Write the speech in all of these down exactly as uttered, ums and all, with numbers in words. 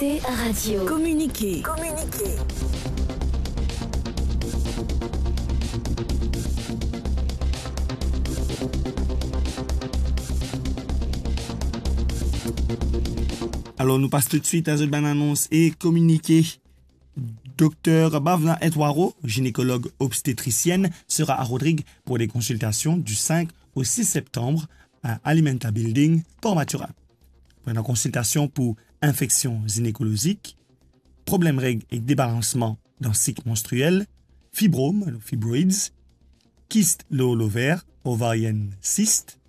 T R Radio. Kominike. Kominike. Alor, nou pas toutswit a zot bann anons e kominike. Dokter Bhavna Etwaro, gynécologue obstétricienne, sera à Rodrigues pour des consultations du cinq au six septembre à Alimenta Building, Port Mathurin. Pour une consultation pour infection gynécologique, problèmes règles et débalancement dans cycle menstruel, fibromes, fibroids, kyste lor lover, ovarian cyst,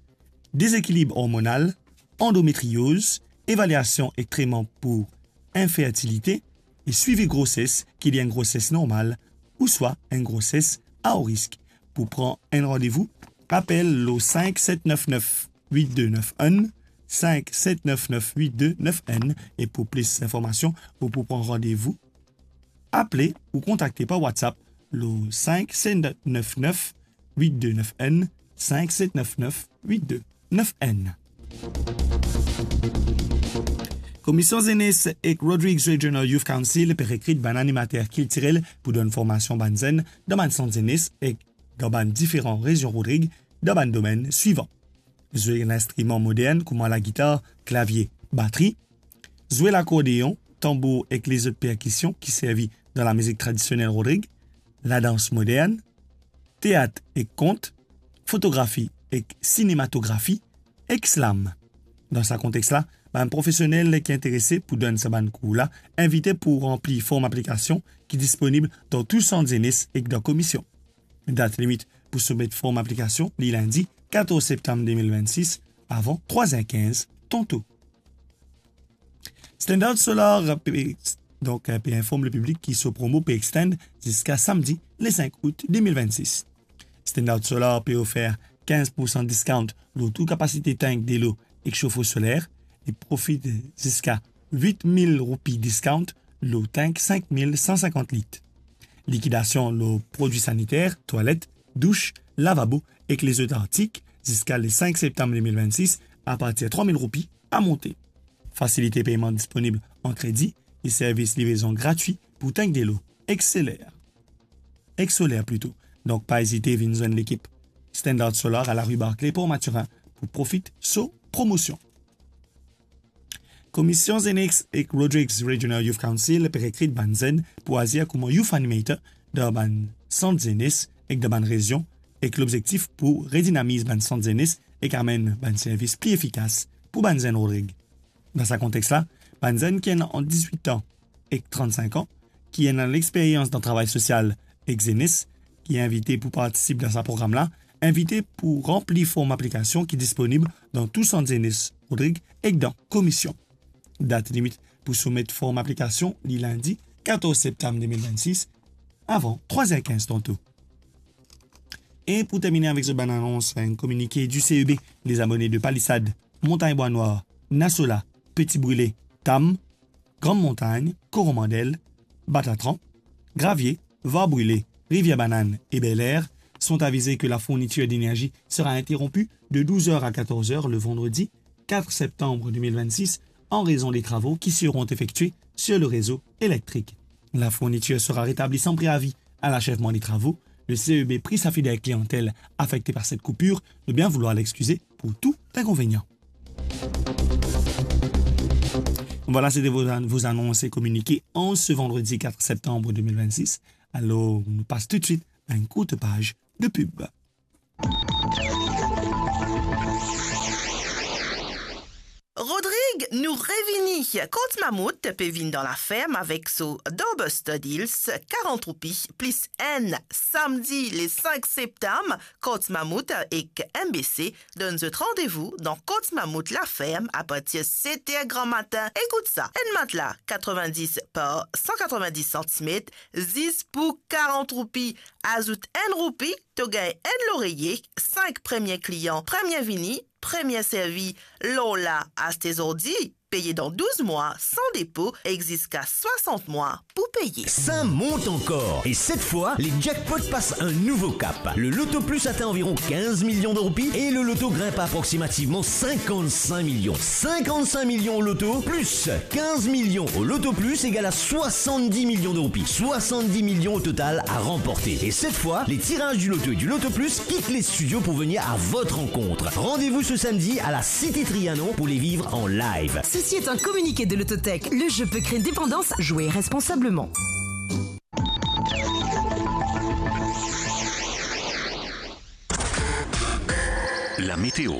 déséquilibre hormonal, endométriose, évaluation et traitement pour infertilité, et suivi grossesse, qu'il y ait une grossesse normale ou soit une grossesse à haut risque. Pour prendre un rendez-vous, appel au cinq sept neuf neuf huit deux neuf un, cinq sept neuf neuf huit deux neuf un, et pour plus d'informations ou pour prendre rendez-vous, apel ou kontakte par WhatsApp le cinq sept neuf neuf huit deux neuf un, cinq sept neuf neuf huit deux neuf un. Komision Zenes ek Rodrigues Regional Youth Council pe rekrit bann animater kiltirel pou donn formasion bann zenn dan bann sant zenes ek dan bann diferan rezion Rodrig dan bann domenn swivan: zwe linstriman modern kouma lagitar, klavie, batri, zwe lakordeon, tanbour ek lezot perkision ki servi dan lamizik tradisionel Rodrig, ladans modern, teat ek kont, fotografi ek sinematografi, ek slam. Dan sa kontex la, bann profesionel ki interese pou donn sa bann kour la invite pou ranpli form aplikasion ki disponib dan tou sant zenes ek dan komision. Dat limit pou soumet form aplikasion, li lindi katorz septam de mil vennsis, avan trwa er kinz tanto. Standard Solar pe, donk, pe inform lepiblik ki so promo pe extend ziska samdi, le sink out de mil vennsis. Standard Solar pe ofer kinz poursan discount lor tou kapasite tank delo ek sofo soler, e profit ziska wit mil roupi discount lor tank sink mil san sinkant lit. Likidasion lor prodwi saniter, twalet, dous, lavabo ek lezot artik ziska le sink septam de mil vennsis, apartir trwa mil roupi a monte. Fasilite peyman disponib an kredi e servis livrezon gratwi pou tank delo ek soler. Ek soler plito. Donk, pa ezite vinn zwenn lekip Standard Solar a la rue Barclay, Port Mathurin, pou profit so promosion. Komision Zenes ek Rodrigues Regional Youth Council pe rekrit bann zenn pou azir kouma youth animator dan bann sant zenes ek dan bann rezion, ek lobzektif pou redinamiz bann sant zenes ek amenn bann servis pli efikas pou bann zenn Rodrig. Dan sa kontex la, bann zenn ki ena ant diswit an ek trannsink an, ki ena lexperyans dan travay sosial ek zenes, ki invite pou partisip dan sa program la, invite pou ranpli form aplikasion ki disponib dan tou sant zenes Rodrig ek dan komision. Dat limit pou soumet form aplikasion, li lindi katorz septam de mil vennsis, avan trwa er kinz tanto. E pou termine avek zot bann anons, enn kominike di C E B, lezabone de Palisade, Montagne Bois Noir, Nasola, Petit Brûlé, Tam, Grande Montagne, Coromandel, Batatran, Gravier, Var Brûlé, Rivière Banane et Bel Air sont avisés que la fourniture d'énergie sera interrompue de douze heures à quatorze heures le vendredi quatre septembre deux mille vingt-six en raison des travaux qui seront effectués sur le réseau électrique. La fourniture sera rétablie sans préavis à l'achèvement des travaux. Le C E B prie sa fidèle clientèle affectée par cette coupure de bien vouloir l'excuser pour tout inconvénient. Voilà, c'était vos, vos annonces et communiqués en ce vendredi quatre septembre deux mille vingt-six. Alors, nou pas tout de suite à une courte page de pub. Rodrig, nou revini. Kot Mamout pe vinn dan laferm avek so Double Stud Heels, karant roupi plis enn, samdi le sink septam. Kot Mamout ek M B C donn zot randevou dan Kot Mamout laferm apartir set er gramatin. Ekout sa, enn matla katrevin-dis par san katrevin-dis santimet, zis pou karant roupi. Azout enn roupi, to gagn enn loreye, sink premie klian, premie vini, premie servi. Lor la, aste zordi, peye dan douz mwa san depo ek ziska swasant mwa pou peye. Ça monte encore. Et cette fois, les jackpots passent un nouveau cap. Le Loto Plus atteint environ quinze millions de roupies et le loto grimpe à approximativement cinquante-cinq millions. Cinquante-cinq millions au loto, plus quinze millions au Loto Plus égale à soixante-dix millions de roupies. Soixante-dix millions au total à remporter. Et cette fois, les tirages du loto et du Loto Plus quittent les studios pour venir à votre rencontre. Rendez-vous ce samedi à la Cité Trianon pour les vivre en live. Ceci est un communiqué de Lototech. Le jeu peut créer une dépendance. Jouez responsablement. La météo.